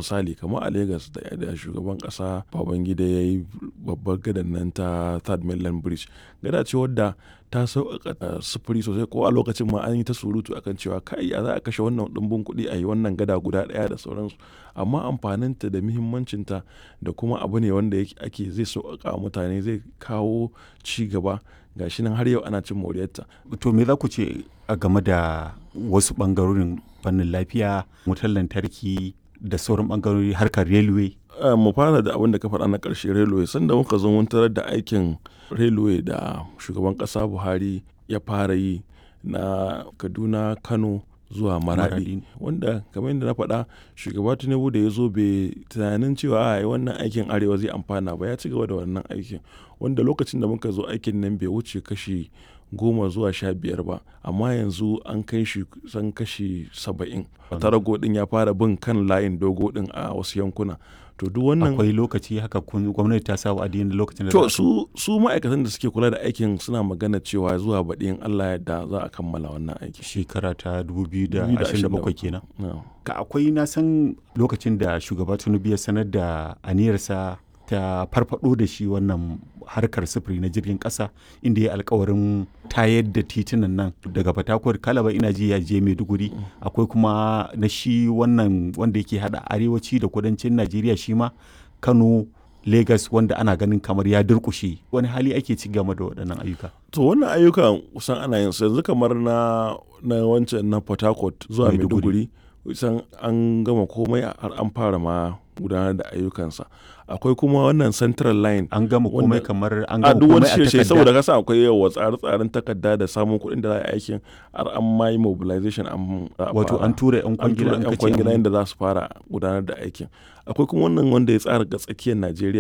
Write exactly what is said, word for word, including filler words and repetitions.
Misali kamar a Legas da, da shugaban ƙasa Babangida ya yi babbar gadan nan ta Third Mainland Bridge. Gada ce wadda ta sauƙaƙa sufuri sosai ko a lokacin ma an yi ta surutu a kan cewa kai ya za a kashe wannan ɗumbin kuɗi a yi wannan gada guda ɗaya da sauransu. Amma amfaninta da muhimmancinta da kuma abu ne wanda yake ake zai sauƙaƙa wa mutane zai kawo ci gaba ga shi nan har yau ana cin moriyarta. To me za ku ce a game da wasu ɓangarorin fannin lafiya, wutar lantarki da sauran ɓangarori harkar railway? Mu fara da abin da ka faɗa na ƙarshe railway. Sanda muka zo mun tarar da aikin railway da shugaban ƙasa Buhari ya fara yi na Kaduna, Kano zuwa Maradi. Wanda kamar yadda na faɗa shugaba Tinubu da ya zo bai tunanin cewa ai wannan aikin Arewa zai amfana ba ya ci gaba da wannan aikin. Wanda lokacin da muka zo aikin nan bai wuce kashi goma zuwa sha biyar ba amma yanzu an kai shi kusan kashi saba'in. Tarago ɗin ya fara bin kan layin dogo ɗin a wasu yankuna. To duk wannan Akwai lokaci haka kun gwamnati ta sa wa'adi na lokacin da To su, su ma'aikatan da suke kula da aikin suna magana cewa zuwa baɗi in Allah ya yarda za a kammala wannan aiki. Shekara ta dubu biyu da ashirin da bakwai kenan. Na'am. Ka akwai na san lokacin da shugaba Tinubu ya sanar da aniyarsa ta farfado da shi wannan harkar sufuri na jirgin ƙasa inda ya alkawarin tayar da titunan nan daga Fatakwal Kalaba ina ji ya je Maiduguri akwai kuma na shi wannan wanda yake hada arewaci da kudancin Najeriya shi ma Kano Lagos wanda ana ganin kamar ya durƙushe wani hali ake ci game da waɗannan ayyuka. To wannan ayyukan kusan ana yin su yanzu kamar na, na wancan na Port Harcourt zuwa Maiduguri kusan an gama komai har an fara ma gudanar da ayyukansa. Akwai kuma wannan Central Line. An gama komai kamar an A gama duk wani komai a shirye takarda. saboda kasa akwai yawa tsare-tsaren takarda da samun kuɗin da za a yi aikin har an ma yi mobilization an za a Wato fara. an tura 'yan An kwangila tura an 'yan kace kwangila an yadda za su fara gudanar da aikin. Akwai kuma wannan wanda ya tsara ga tsakiyar Najeriya.